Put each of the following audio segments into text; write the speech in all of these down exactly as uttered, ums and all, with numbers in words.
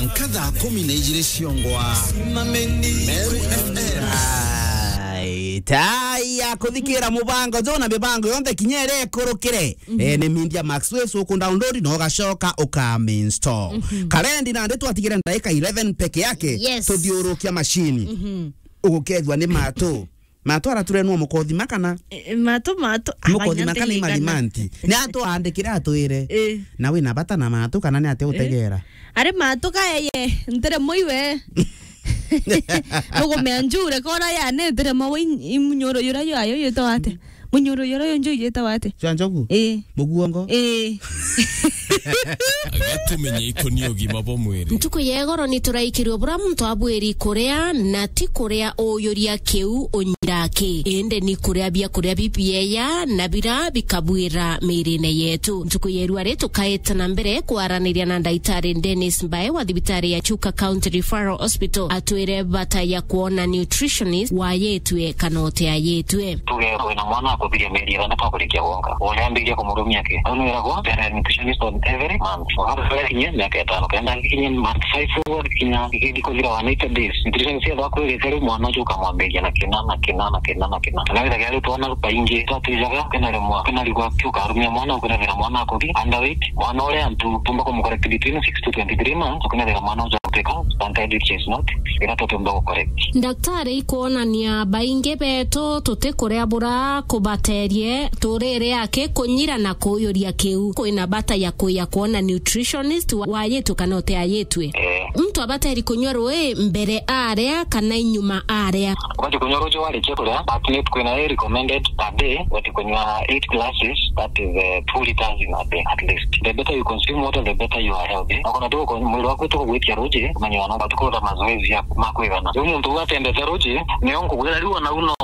Nkatha kumi na ijiri ciongwa. Meru F M. Ai, tai ya kuthikira mubango jo na mibango yonthe kinya iria ikurukire. Mhm. Eh, ni Media Max Waves uku download na ugacoka uka install. Mhm. Karendi nandi twatigire ndagika eleven peke yake. Yes. Tuthiurukia machine. Mhm. Ugukethwa ni matu. Matu araturenwa mukothima kana? E, e, matu, matu. Mukothima kana imarimanti. Ni atwandikire atwire. E. Na wina bata na matu kana ni atia utegera? Ari matu kaeye, ntire muiwe. Nugumea njure kora ya ne ntire mawe imunyoro yura yo ayo yetawa atia? Munyoro yura yo njo yetawa atia? Cia njogu? E. Muguongo? E. Gatumenye ikoni ugima bwa mwiri. Ntuku ya igoro ni turaikirwe bura muntu abwiri kuria na ti kuria uyuria kiu unyira ki, indi ni kuria biakuria bibieya na bira bikabwira mirine yetu. Ntuku ya irua ri tukaeta na mbere kwaraniria na ndaitari Dennis Mbae wa thibitari ya Chuka County Referral Hospital atwire bata ya kwona nutritionist wayitwe kana utiayitwe. Tuge wina mwana akuthiria mieri ithantatu akurikia wonka, unyambiria kumurumia ki? Au ni wiragwa there are nutritionist on every month. Wakati kinya miaka itano, kenda kinya month five, kinya kithi kuthira one eighty days, nutritionist ethwa akwirite riu mwana ucio ukamwambiria na kina na kina na kina na kina. Na withagira riu twana baingi twatijaga, kwina rimwe kwina rigwa kiukarumia mwana, kwina thira mwana akuthi underweight, mwana uria antu tumba kumucorrect between six to twenty-three months, kwina thira mwana ucio agutwika stunted, which is not ira tutumba gucorrect. Ndaktari, ikwonania baingi betu tutikuria bura kubaterie turire aki kunyira na kuyuria kiu. Kwina bata ya kuya kwona nutritionist wa-, wayitwe kana utiayitwe? Eh. Muntu abateri kunywa rui mbere aria kana inyuma aria? Ubati kunywa ruju warikia kuria, but ni kwina i recommended per day, ubati kunywa eight glasses, that is, eh, two liters in a day at least. The better you consume water, the better you are healthy. Na kuna tu mwili waku tukugwitia ruji, umenya no batu kuruta mazoezi ya ma kwigana. Riu muntu uu atendete ruji, nio nkugwira riu ona uno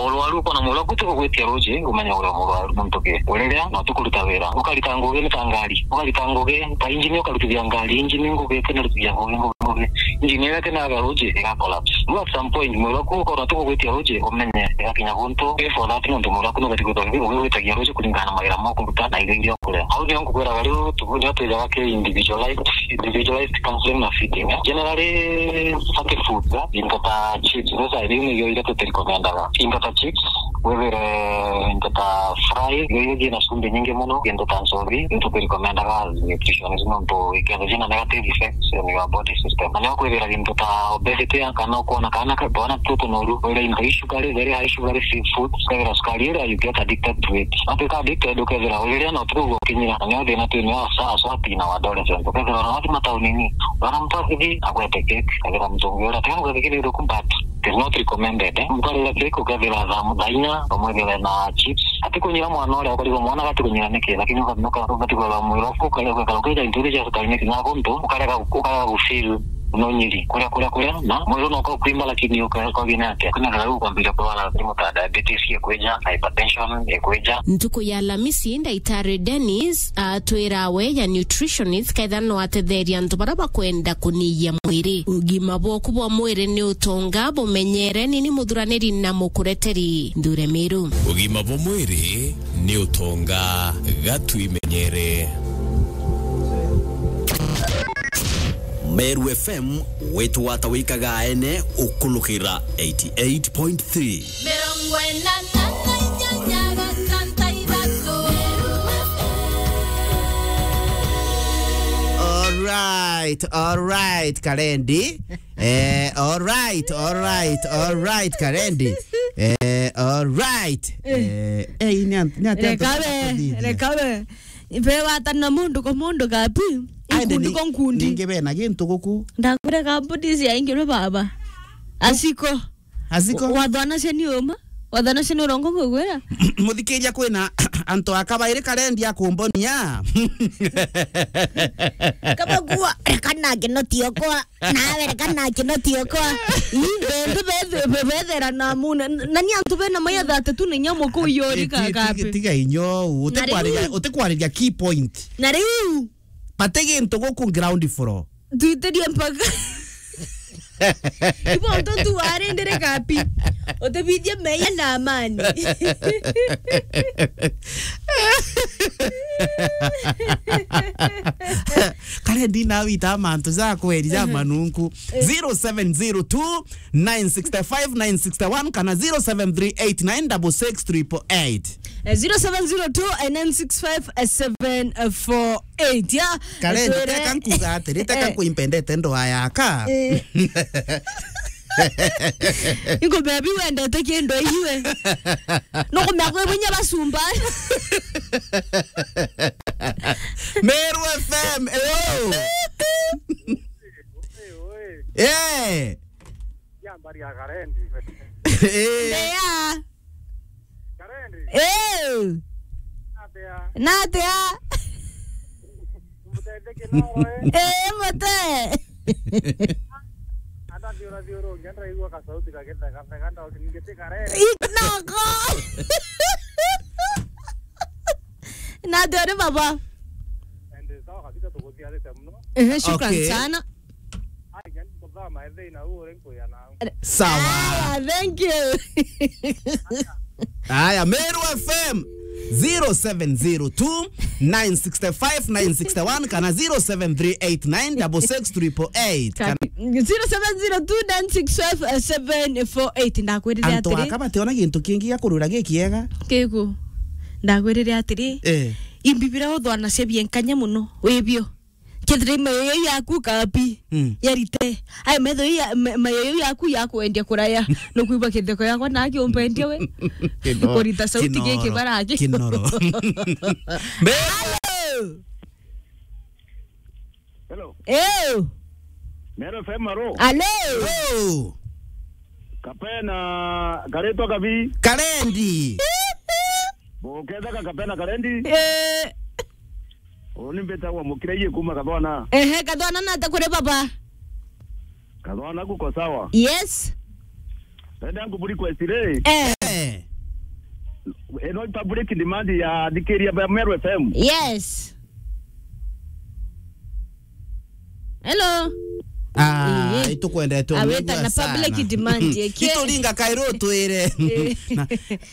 urwaru uko na mwili waku tukugwitia ruji, umenya uria murwaru muntu ki. Uriria na tukuruta wira. Ukarita ngugi ni ta ngari. Ukarita ngugi ta injini, ukarutithia ngari injini ngugi, kena rutithia ngugi, ngugi, ngugi. Injini iria kena ga ruji iga collapse. Riu at some point mwili waku ukorwa tukugwitia ruji, umenye igakinya guntu. Pay for that nontu mwili waku nubati gwithwa ugigwitagia ruji kuringana na mawira ma kuruta na irio iria ukuria. Au nio nkukwiraga riu tu-, nio twijaga ki individualized, individualized counseling na feeding, eh. Generally, fatty foods, eh, into ta chips, those are, riu nio iria tuti recomendaga. Into ta chips, withire into ta fry, irio iria ciina cumbi nyingi mono, into ta nchobi, into tuti recomendaga as nutritionist nontu ikethwa ciina negative effects on your body system. Na nio kwithira into ta obesity, kana ukwona kana ka-, twana tutu noru, wire into i sugary, very high sugary food, ukethira sukari iria you get addicted to it. Watwika addicted, ukethira uriria na utuku gukinyira, na nio thina twina aswa, aswa teen na adolescent. Ukethira ona wathi mataunini, wana mtu akithi agwete cake, akethira mtu ungi uria, tena guthe kiri ruku, but it is not recommended, eh. Mtu arira cake, ukethira thaa mu-, thaa inya, umwithire na chips. Ati kunyira mwana uria, ukarigwa mwana gati kunyira niki, lakini uka-, uka-, ukati kwira mwiri waku, ukarega gwikara ukija into iria cia sukari niki, na guntu, ukarega, ukarega gufeel no nyiri, kuria, kuria, kuria, na mwiri no ukakwimba, lakini uka-, ukagina atia? Kwina thara ukwambiria kurwara mirimu ta diabetes ikwija, hypertension ikwija. Ntuku ya Alamisi, Ndaitari Dennis atwira we ya nutritionist kethira no atetheria antu baria bakwenda kuniyia mwiri. Ugima bwaku bwa mwiri ni utonga, bumenyere, nini muthuraniri na mukureteri Nthure Miru. Ugima bwa mwiri ni utonga, gatwimenyere. Meru F M, wetu wata wikaga ene ukulukira eighty-eight point three. Mirongo ina na inyanya gatanta ithatu. All right, all right, Karendi. Eh, all right, all right, all right, Karendi. Eh, all right. Eh, eh, ni an-, ni ati antu reka we, batathithia. Reka we. Ibe watana mundu kwa mundu kapi. Aende nkundi ni-, kwa nkundi. Ningi bena gintu guku. Ndakwira kambuni cia ingirwe baba. Asiko. Asiko? Wathwana cia ni uma. Wathwana cia ni urongo kugwira. Muthikiria, kwina antu a kabairi Karendi akumbonia. Kama kuwa, kana kinoti okwa. Nawe reka na kinoti okwa. Ii, bendu bethe-, be-, bethera na muna. Na ni antu bena maya thate tu ni nyamu ku yori. Ti-, ti-, kakape. Tiga inyo, na riu utikwariria, utikwariria key point. Na riu. Bati gintu guku ground floor. Twitirie mpaka. Ibo ntu tu warindire kapi. Utibithie meya na amani. Kare ndina wita mantu ja kweri ja manunku. zero seven zero two, nine six five, nine six one kana zero seven three eight nine six six triple eight. Eh, zero seven zero two, nine six five, seven four eight. Ya, Kare, twere- teka nkuga atiri, teka Eh. nkuimpendete ndoa yaka. Eh. Ingo baby wendete kindu iwe. Nukumea kwi bunya basumba. Meru F M, hello. Eh. Ya mbari ya Karendi. Eh. Ndeya. Karendi. Eh. Atia. Natia. Mutetheke no we. Eh, mute. Ata thiura thiura ungi, ndiraigua kasauti kagitheka theka, ndoki ningiti Karendi. Noko. Natia uri baba. Ende sawa kabisa, tukuthiarite muno. Eh, shukran Okay. sana. Ai, yani, kuthama ethei na uri nkuya na Sawa. Aya, thank you. Aya, Meru F M, zero seven zero two, nine six five, nine six one kana zero seven three eight nine six six triple eight. Kana zero seven zero two nine six five seven four eight. Ndakwirire Antu atiri. Aka bationa gintu kingi gia kurwira gikiega. Kiku. Ndakwirire atiri. Eh. Imbi bira uthwanacia bienkanya muno, wibio. Kethira mayoyo yaku kapi, Mm. yarite. Ai, metho ya, ma-, mayoyo yaku yakwendia kuraya. Nukwigua kitheko yakwa na kiumpendia we. Kino-, Kurita sauti kinoro, giki baraki. Kinoro. Hello. Hello. Ew. Meru F M, aro. Hello. Hello. Kapena, karetwa kabi. Karendi. Buketheka Kapena Karendi. Eh. Uni mbitagwa Mukiraie kuma Kathwana. Ehe, Kathwana nata kuri baba? Kathwana kuko sawa. Yes. Enda ngu request ri. Eh. Eh. Eno public demand ya thikiria ba Meru F M. Yes. Hello. Ah, eh, itukwendete aweta na sana. Public demand yake. Ituringa kairo twire. Eh. Na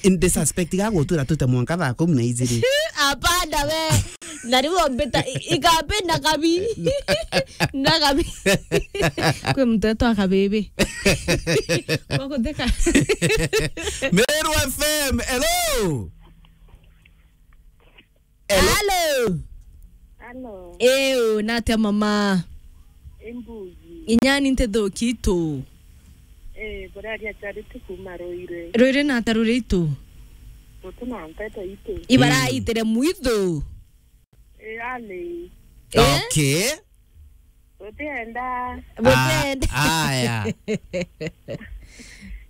in the suspect ga gutwira tute mwanka thaa kumi na ijiri. Apanda we. Na riu mbita i-, ikapenda kabi. Na kabi. Kwi mtoto akabibi. Kwa kutheka. Meru F M, hello. Hello. Hello. Hello. Ew, natia mama? Imbuzi. Inyani ntithuki itu. Eh, buraria Charity kuma Ruiri. Ruiri nata ruri itu? Rutu na nteto itu. Ibaraitire mwithu. Eh, ali. Eh? Okay. Butienda. Butienda. Ah, aya.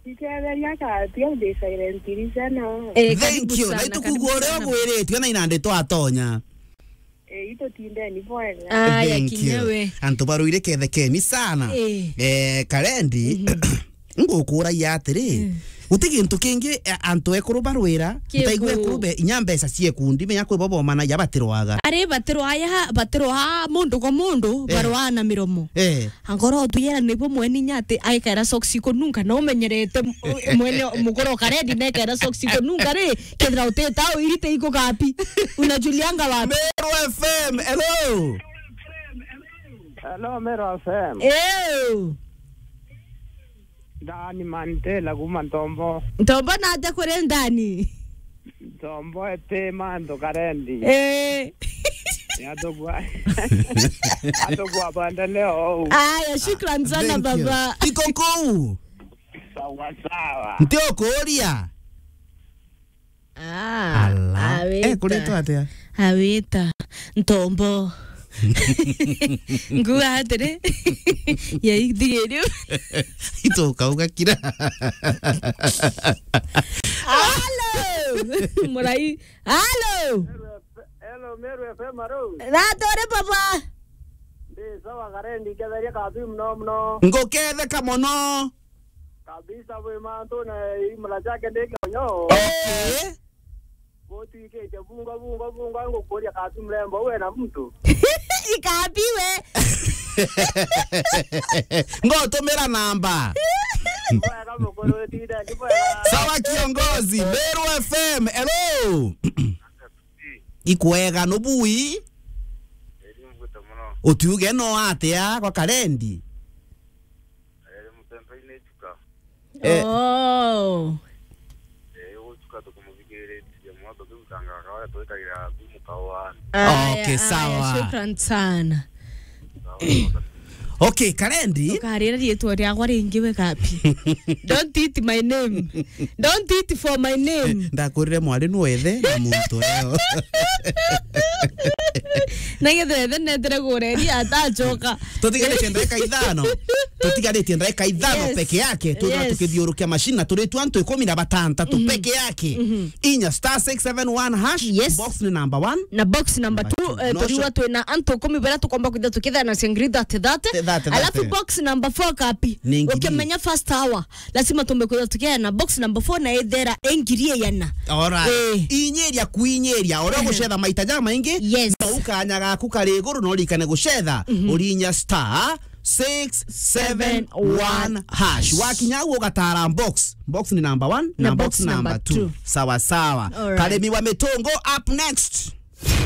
Nketheria katia ndi silent listener. Eh, karibu sana, karibu sana. Thank you. Na itukugua uria ugwiritue na inandi twatonya. Eh, itutindeni bwega. Aya, kinya we. Antu baruire kethekeni sana. Eh. Eh, Karendi. Mhm. Ngukuragia atiri, mm, guti gintu kingi, eh, antu ekuru barwira, kiku, ntaigua ekuru be, inya mbeca cia ikundi, menya kwi bo bomanagia batirwaga. Ari batirwaya, batirwaa mundu kwa mundu, eh, barwaa na miromo. Eh. Angoro tuyera nibo mwene inya ati aikaira socks ikununga, na umenyerete m-, mwene mukoro Karendi nekaira socks ikununga ri, kethira utita uirite iko kapi. Unajulianga wapi? Meru F M, hello. Hello, Meru F M. Ew. Ndani Mantela kuma Ntombo. Ntombo nate kuri ndani? Ntombo ete mantu Karendi. Eh. Atugwa. Atugwa banda leo. Aya, shukran sana, thank you, baba. Iko kuu. Sawa sawa. Nti ukuria. Ah, ala. Awita. Eh, kuretwa atia? Awita. Ntombo. Nguga atiri. Ya ithigirio. Ito ukauga kira. Hello. Murai. Hello. Hello, Meru F M, aro. Natore baba. Ndi sawa Karendi, ketheria kabi muno muno. Nguketheka muno. Kabisa, bwi mantu na imura ciake ndi kionyo. Okay. Gutwikite bungo, bungo, bungo, ngukuria kabi mrembo, we na muntu. Ikabiwe. Ngotumira namba. Bwega mukuru, tindeni bwega. Sawa kiongozi, Meru F M, hello. Ikwega, nubui? Eri mbuite muno. Utiuge no atia kwa Karendi? Eri mutembe-ini ichuka. Eh. Oh. Eh, uchuka tukumuthikiritie muno, tukirutangaga kawaida twikagira thumu kawaani. Aya, okay, aya, sawa. Shukran sana. Sawa, sawa. Okay, Karendi. Ukarira riitwa riakwa ringi we kapi. Don't eat my name. Don't eat for my name. Ndakurire mwari nu wethe na muntu eo. Na gethe ethe netere kureri atachoka. Tutigaritie ndagika ithano. Tutigaritie ndagika ithano. Yes. Peke yake. Tuthira, yes, tukithiurukia mashini na turitu antu ikumi na batantatu, mhm, peke yake. Mhm. Inya star six seven one hash. Yes. Box ni number one. Na box number two, eh, no, turiwa twina antu ikumi baria tukomba kwithira tukithana singiri thirty thirty. Thirty thirty. Alafu box number four kapi? Ni ngiri. Ukimenya first hour, lazima tumbe kwithira tukithana box number four na ithera ingiri iyana. Alright. Eh. Inyiria kuinyiria, uria, eh, gucetha maita jamaingi, yes, na ukanya gaku kari iguru, no urikane gucetha, mhm, urinya star six seven one hash. Wakinya au ugatara box. Box ni number one, na box number two. Sawa sawa. Alright. Karemi wa Mitungu up next.